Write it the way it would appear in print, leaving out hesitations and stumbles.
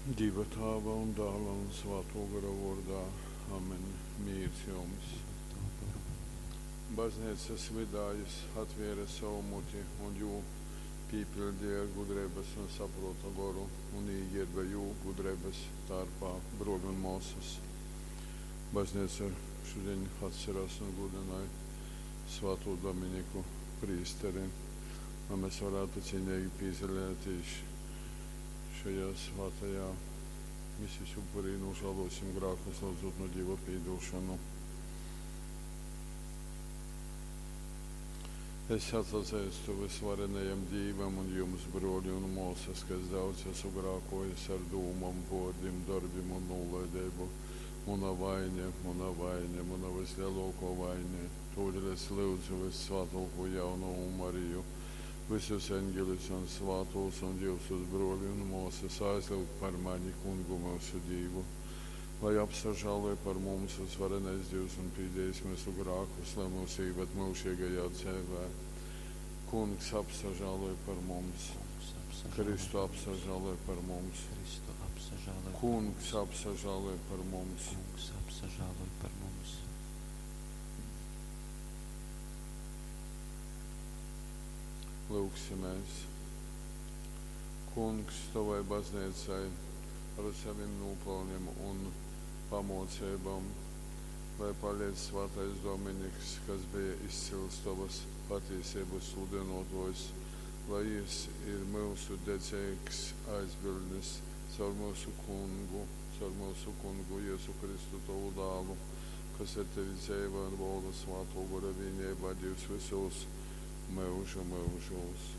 Dieva Tāva un Dāla un Svātō Gora vōrdā. Amen. Mīrs jums. Tavu garu. Bazneicas vydā jys atvēre sovu muti un jū pīpiļdeja ar gudreibas un saprōta goru un īgērbe jū gudreibas tārpā, brōļi un mōsas. Bazneica šodien atcerās un gudinoj Svātū Dominiku prīsteri, lai mēs varētu cienīgi pīzalētīs šajā svātajā misijas upurī, nožēlosim grēkus, lūdzot no Dieva piedošanu. Es atzīstu visvarenajam Dievam un jums, broļi un māsas, ka es daudz esmu grēkojis ar dūmām, vārdiem, darbiem un nolaidību. Mana vaina, mana vaina, mana vislielākā vaina. Tūdaļ es lūdzu vissvētāko jaunavu Mariju, visus eņģeļus un svātos un jūsus broļi un māsas aizlūgt par mani, kungu mūsu Dievu. Lai apsažāloj par mums uzvarenais Dievs un pīdējis mūsu grākus, lai mūs īved mūžīgajā dzīvē. Kungs apsažāloj par mums, Kungs apsažāloj Kristu par mums. apsažāloj par mums, Kristu apsažāloj par Kungs mums. apsažāloj par mums. Kungs apsažāloj par mums. Lūgsimies. Kungs, tavai baznīcai ar saviem nopelniem un pamocībām, lai paliec svētais Dominiks, kas bija izcils tavas patiesības sludinotājs, lai jis ir mūsu dedzīgs aizbildnis caur mūsu kungu, caur mūsu kungu Jēzu Kristu tavu dālu, kas ar tevi dzīvo un valda svāto gara vienībā Dievs visos mūžu mūžos.